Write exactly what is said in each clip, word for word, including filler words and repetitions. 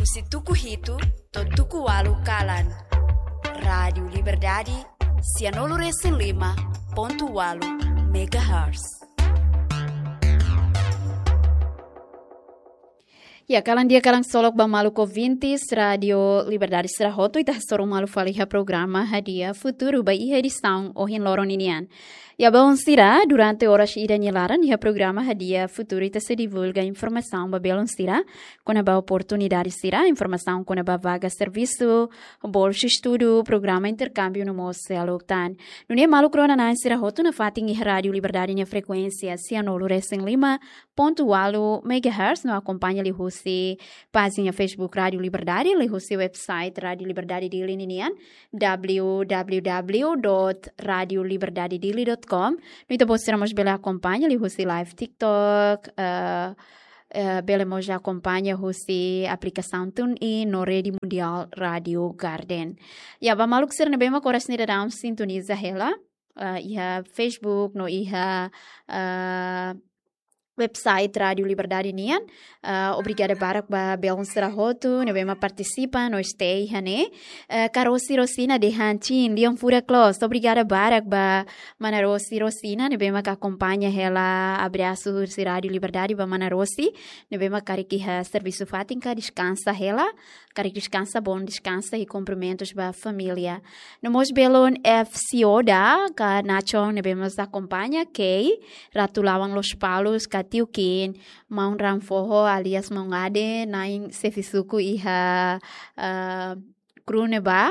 Husi tuku hitu to'o tuku ualu kalan. Rádiu Liberdade, sianulu resin lima pontu ualu megahertz. Ya, kalan di'ak, kalan ksolok ba maluk ouvintes Rádiu Liberdade sira hotu, ita hasoru malu fali iha programa Hadi'a Futuru ba iha edisaun ohin loron ninian. Ya, baun sira, durante oras ida nia laran iha programa Hadi'a Futuru ita sei divulga informasaun ba belun sira kona-ba oportunidade sira, informasaun kona-ba vaga servisu, bolsa estudu, programa interkámbiu no mós seluk tan. Nune'e maluk rona-na'in sira hotu nafatin iha Rádiu Liberdade nia frekuénsia sianulu resin lima pontu ualu megahertz no akompaña liuhusi pájina Facebook Rádiu Liberdade, liuhusi website Rádiu Liberdade Dili ninian, w w w dot radio liberdade dili dot com. No ita-boot sira mós bele akompaña liuhusi live TikTok, eh, eh, bele mós akompaña husi aplikasaun TuneIn no Rede Mundial Rádiu Garden. Ya, ba maluk sira ne'ebé mak oras ne'e daudaun sintoniza hela, eh, iha Facebook no iha, eh, website Rádiu Liberdade nian. Eh, obrigada barak ba belun sira hotu ne'ebé mak partisipa no stay iha ne'e. Eh, Karosi Rosina dehan chin, lian furak loos. Obrigada barak ba mana Rosi Rosina ne'ebé mak akompaña hela. Abrasu husi Rádiu Liberdade ba mana Rosi ne'ebé mak karik iha servisu fatin ka deskansa hela. Karik deskansa, bom deskansa i kumprimentus ba família. No mós belun F C Oda ka Nacho ne'ebé mós akompaña, Kei, Ratu Lawang Lospalos ka Tiu Kin, maun Ranfoho alias maun Ade, na'in xefe suku iha, eh, Krune ba,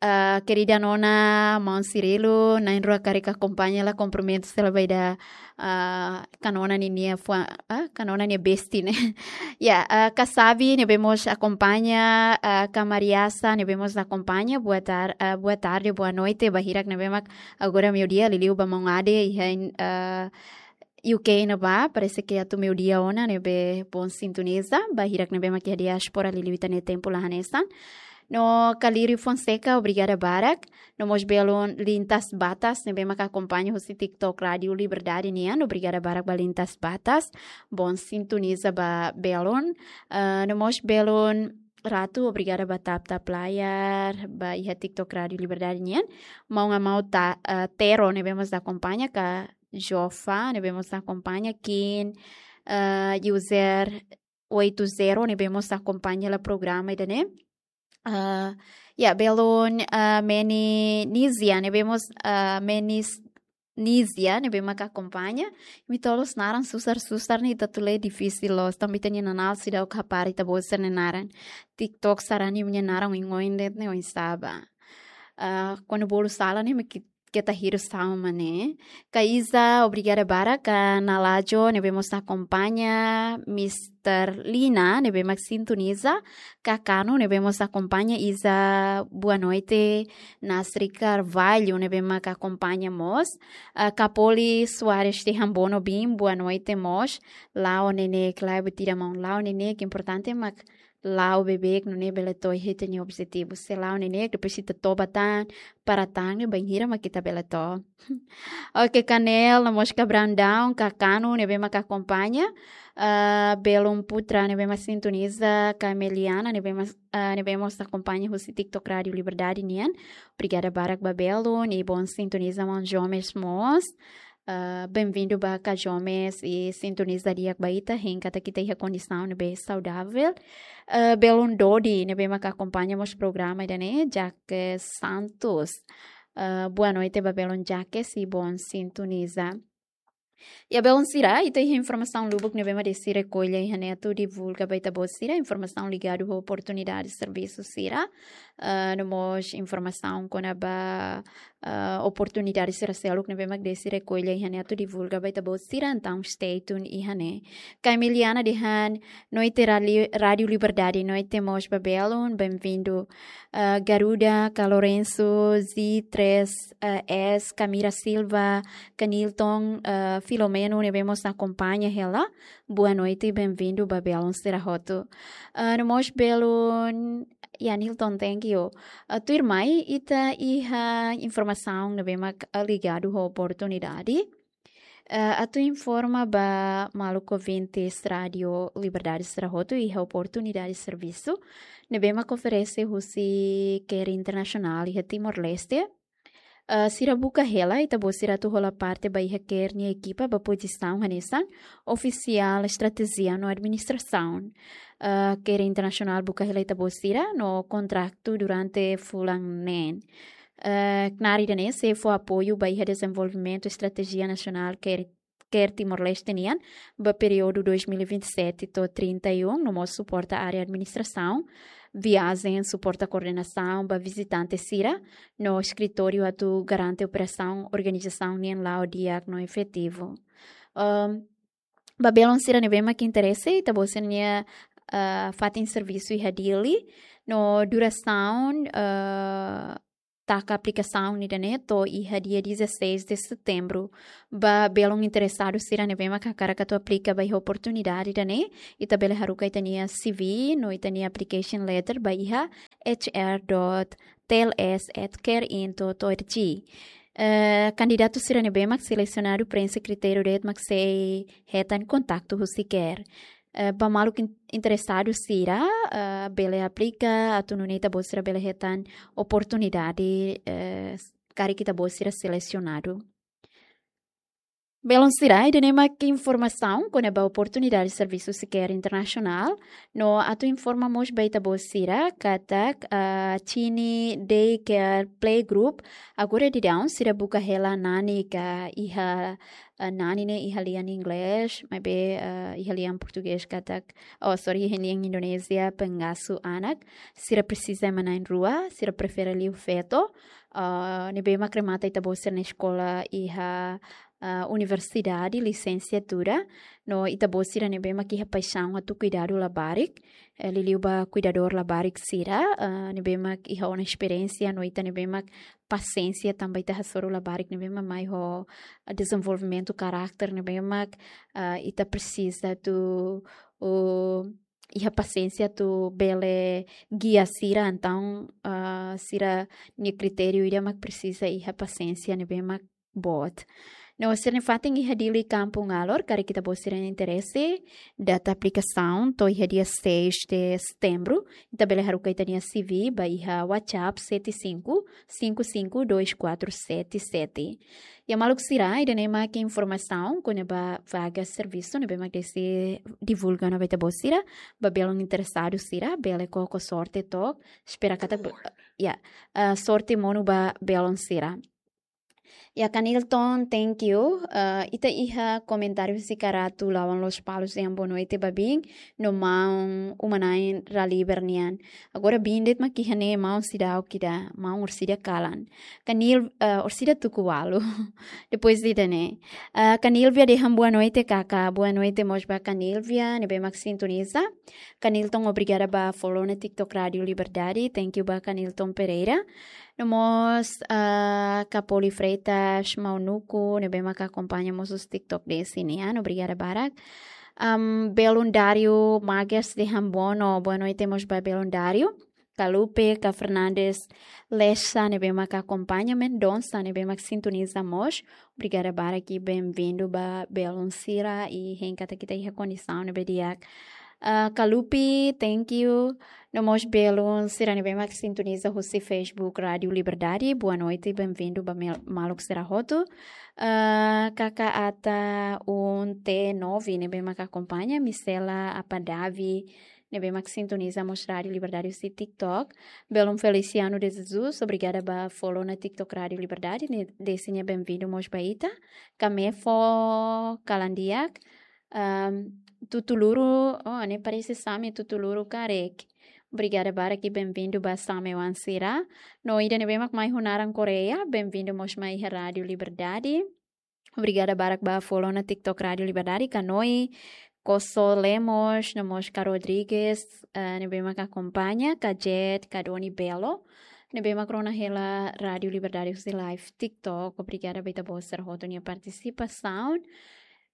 eh, kerida nona, maun Cirilo, na'in-rua karik akompaña, la kumprimentus hela ba ida, eh, ka nona ninia fua, eh, ka nona nia besti ne'e. Ya, eh, Kasabi ne'ebé mós akompaña, eh, ka Mariasa ne'ebé mós akompaña, boa tar-, eh, boa tarde, boa noite ba hirak ne'ebé mak agora meiudia, liuliu ba maun Ade iha, eh, U K ne'ebá, parese ke atu meiudia ona, ne'ebé bom sintoniza, ba hirak ne'ebé mak iha diáspora liuliu ita-nia tempu la hanesan. No Kaliri Fonseca, obrigada barak. No mós belun Lintas Batas ne'ebé mak akompaña husi TikTok Rádiu Liberdade nian, obrigada barak ba Lintas Batas. Bom sintoniza ba belun. Eh, no mós belun Ratu, obrigada ba tap-tap layar ba iha TikTok Rádiu Liberdade nian. Maun Amau Ta-, eh, Tero ne'ebé mós akompaña ka Jofa ne'ebé mós akompaña, Kin, eh, user oito zero ne'ebé mós akompaña hela programa ida-ne'e. Eh, ya, belun, eh, Meni Nizia ne'ebé mós, eh, Menis Nizia ne'ebé mak akompaña. Imi-nia naran susar-susar ne'e ita atu lee difisil loos. Tanba ita-nia nanál seidauk hapara ita-boot sira-nia naran. TikTok sarani imi-nia naran oin-oin de'it ne'e oinsá ba. Eh, kuandu bolu sala ne'e mak keta hirus ha'u mak ne'e. Ka Iza, obrigada barak. Ka Nalajo ne'ebé mós akompaña, Mister Lina ne'ebé mak sintoniza, ka Kanu ne'ebé mós akompaña, Iza, boa noite. Nasri Carvalho ne'ebé mak akompaña mós. Eh, Kapoli Soares dehan bono bin, boa noite mós. La'o neineik, la'o buat ida maun, la'o neineik, importante mak la'o beibeik nune'e bele to'o iha ita-nia objetivu. Se la'o neineik, depois ita toba tan, para tan, ne'e bainhira mak ita bele to'o. Oke, Kanel, no mós ka Brandão, ka Kanu ne'ebé mak akompaña, eh, belun Putra ne'ebé mak sintoniza, ka Meliana ne'ebé mak, eh, ne'ebé mós akompaña husi TikTok Rádiu Liberdade nian. Obrigada barak ba belun, i bom sintoniza maun Jomes mós. Eh, benvindu ba ka Jomes i sintoniza di'ak ba ita, hein katak ita iha kondisaun ne'ebé saudavel. Eh, belun Dodi ne'ebé mak akompaña mós programa ida-ne'e, Jacques Santos. Eh, boa noite ba belun Jacques i bom sintoniza. Ya, belun sira, ita iha informasaun lubuk ne'ebé mak Desi rekolla iha ne'e atu divulga ba ita-boot sira, informasaun ligadu ho oportunidade servisu sira. Eh, no mós informasaun kona-ba, eh, oportunidade sira seluk ne'ebé mak Desi rekolla iha ne'e atu divulga ba ita-boot sira, entaun stay tune iha ne'e. Ka Emiliana dehan, noite Rali-, Rádiu Liberdade, noite mós ba belun, benvindu. Eh, Garuda, ka Lourenço, Z três, eh, S, Camira Silva, ka Nilton, eh, Filomeno, ne'ebé mós akompaña hela. Boa noite, benvindu ba belun sira hotu. Eh, no mós belun, ya Nilton, thank you. Eh, tuirmai, ita iha informasaun ne'ebé mak, eh, ligadu ho oportunidade. Eh, atu informa ba maluk ouvintes Rádio Liberdade sira hotu iha oportunidade servisu ne'ebé mak oferese husi CARE Internasionál iha Timor-Leste. Eh, sira buka hela ita-boot sira atu hola parte ba iha CARE nia ekipa ba pozisaun hanesan ofisiál estratéjia no administrasaun. Eh, CARE Internasionál buka hela ita-boot sira no kontratu durante fulan neen. Eh, knaar ida-ne'e sei fó apoiu ba iha dezenvolvimentu estratéjia nasionál CARE, CARE Timor-Leste nian ba períodu dois mil e vinte e sete to'o trinta e um, no mós suporta área administrasaun, viajen, suporta koordenasaun ba vizitante sira, no eskritóriu atu garante operasaun organizasaun nian la'o di'ak no efetivu. Ehm, ba belun sira ne'ebé mak interese, ita-boot sira-nia, eh, fatin servisu iha Dili, no durasaun, eh, taka aplikasaun ida-ne'e to'o iha dia dezasseis de setembro. Ba belun interesadu sira ne'ebé mak hakarak atu aplika ba iha oportunidade ida-ne'e, ita bele haruka ita-nia C V no ita-nia application letter ba iha H R dot T L S at care in dot org. Eh, kandidatu sira ne'ebé mak selesionadu preenxe kritériu de'it mak sei hetan kontaktu husi CARE. Eh, ba maluk in-, interesadu sira, eh, bele aplika, atu nune'e ita-boot sira bele hetan oportunidade, eh, karik ita-boot sira selesionadu. Belun sira, ida-ne'e mak informasaun kona-ba oportunidade servisu husi CARE Internasionál, no atu informa mós ba ita-boot sira katak, eh, Tini Daycare Playgroup, agora daudaun sira buka hela nani ka iha, eh, nani ne'e iha lian Inglés, maibé, eh, iha lian Portugés katak, oh, sorry, iha lian Indonézia pengasuh anak, sira presiza ema na'in-rua, sira prefere liu feto, eh, ne'ebé mak remata ita-boot sira-nia eskola iha, eh, universidade, lisensiatura, no ita-boot sira ne'ebé mak iha paixaun atu kuidadu labarik, eh, liuliu ba kuidadór labarik sira, eh, ne'ebé mak iha ona esperiénsia, no ita ne'ebé mak pasiénsia tanba ita hasoru labarik ne'ebé mak mai ho, eh, dezenvolvimentu karakter ne'ebé mak, eh, ita presiza atu, uh, iha pasiénsia atu bele gia sira, entaun, eh, sira-nia kritériu ida mak presiza iha pasiénsia ne'ebé mak boot. No sira-nia fatin iha Dili Kampung Alor, karik ita-boot sira interese, data aplikasaun to'o iha dia seis de setembro, ita bele haruka ita-nia C V ba iha WhatsApp sete cinco cinco cinco dois quatro sete sete. Ya maluk sira, ida-ne'e mak informasaun kona-ba vaga servisu ne'ebé mak Desi divulga ona ba ita-boot sira, ba belun interesadu sira, bele koko sorte took, espera katak, ya, eh, sorte monu ba belun sira. Ya, Kanilton, thank you. Eh, ita iha komentáriu husi Karatu, Lawan Lospalos dehan boa noite ba biin, no maun uma-na'in Raliber nian. Agora biin de'it mak iha ne'e, maun seidauk ida, maun Orsida kalan. Kanil, eh, Orsida tuku ualu. Depois ida-ne'e. Eh, Kanilvia dehan boa noite, kaka. Boa noite mós ba Kanilvia, ne'ebé mak sintoniza. Kanilton, obrigada ba follow ona TikTok Rádio Liberdade. Thank you ba Kanilton Pereira. No mós, ah, Kapoli Freitas, Maunuku, ne'ebé mak akompaña mós husi TikTok Desi nian, obrigada barak. Am, Belun Dario Magas dehan bono, boa noite mós ba Belun Dario. Kalupe, Ka Fernandes Lessa, ne'ebé mak akompaña, Mendonça, ne'ebé mak sintoniza mós. Obrigada barak i bem-vindu ba belun sira i hein katak ita iha kondisaun ne'ebé di'ak. Ah, Kalupe, thank you. No mós belun sira ne'ebé mak sintoniza husi Facebook Rádio Liberdade. Boa noite, bem-vindu ba mel-, maluk sira hotu. Ah, Kaka Ata um T nove, ne'ebé mak akompaña, Misela Apadavi, ne'ebé mak sintoniza mós Rádio Liberdade husi TikTok. Belun Feliciano de Jesus, obrigada ba follow ona TikTok Rádio Liberdade, ne'e Desi nia bem-vindu mós ba ita. Kamefo kalan di'ak, Ahm, Tutuluru, oh, ne'e parese Same Tutuluru karik. Obrigada barak i bem-vindu ba Same oan sira. No ida ne'ebé mak mai ho naran Koreia, bem-vindu mós mai iha Rádio Liberdade. Obrigada barak ba follow ona TikTok Rádio Liberdade, Kanoi, Koso Lemos, no mós Ka Rodrigues, eh, ne'ebé mak akompaña, Ka Jet, Ka Doni Belo, ne'ebé mak rona hela Rádio Liberdade husi live TikTok. Obrigada ba ita-boot sira hotu nia partisipasaun.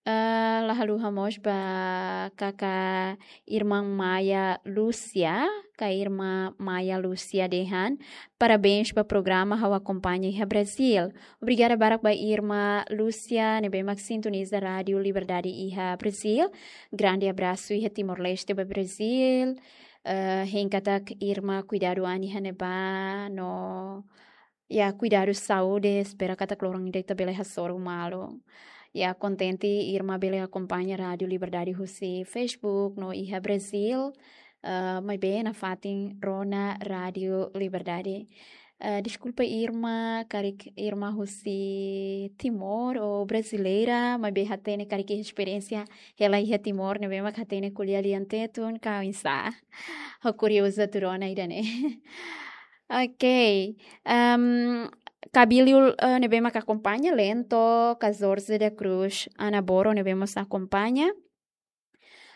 Eh, la haluha mós ba kaka irmã Maia Lúcia, ka irma Maia Lúcia dehan, parabéns ba programa, ha'u akompaña iha Brazil. Obrigada barak ba irma Lúcia ne'ebé mak sintoniza Rádiu Liberdade iha Brazil. Grande abrasu iha Timor-Leste ba Brazil. Eh, hein katak irma kuidadu an iha ne'ebá no, ya, kuidadu saúde, espera katak loron ida ita bele hasoru malu. Ya, kontente irma bele akompaña Rádiu Liberdade husi Facebook no iha Brazil. Eh, maibé nafatin rona Rádiu Liberdade. Eh, deskulpa irma, karik irma husi Timor ou brasileira, maibé hatene karik esperiénsia hela iha Timor ne'ebé mak hatene ko'alia lian Tetun ka oinsá. Ha'u kuriozu atu rona ida-ne'e. Ok. Em, Kabiliu, eh, ne'ebé mak akompaña, Lento, Kazorze da Cruz, Ana Boro ne'ebé mós akompaña.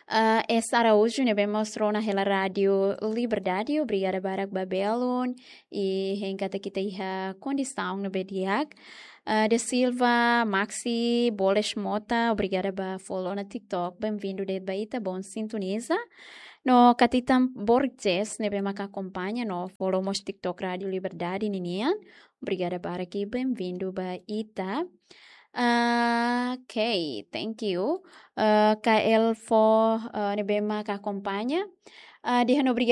Eh, S Araújo ne'ebé mós rona hela Rádiu Liberdade, obrigada barak ba belun, i hein katak ita iha kondisaun ne'ebé di'ak. Eh, De Silva, Maxi, Boles Mota, obrigada ba follow ona TikTok, bem-vindo de'it ba ita, bom sintoniza. No Katitan Borges ne'ebé mak akompaña no follow mós TikTok Rádiu Liberdade ninian. Obrigada barak i bem-vindo ba ita. Ah, ok, thank you. Ah, K L Fo, ah, ne'ebé mak akompaña. Ah, dehan obrigada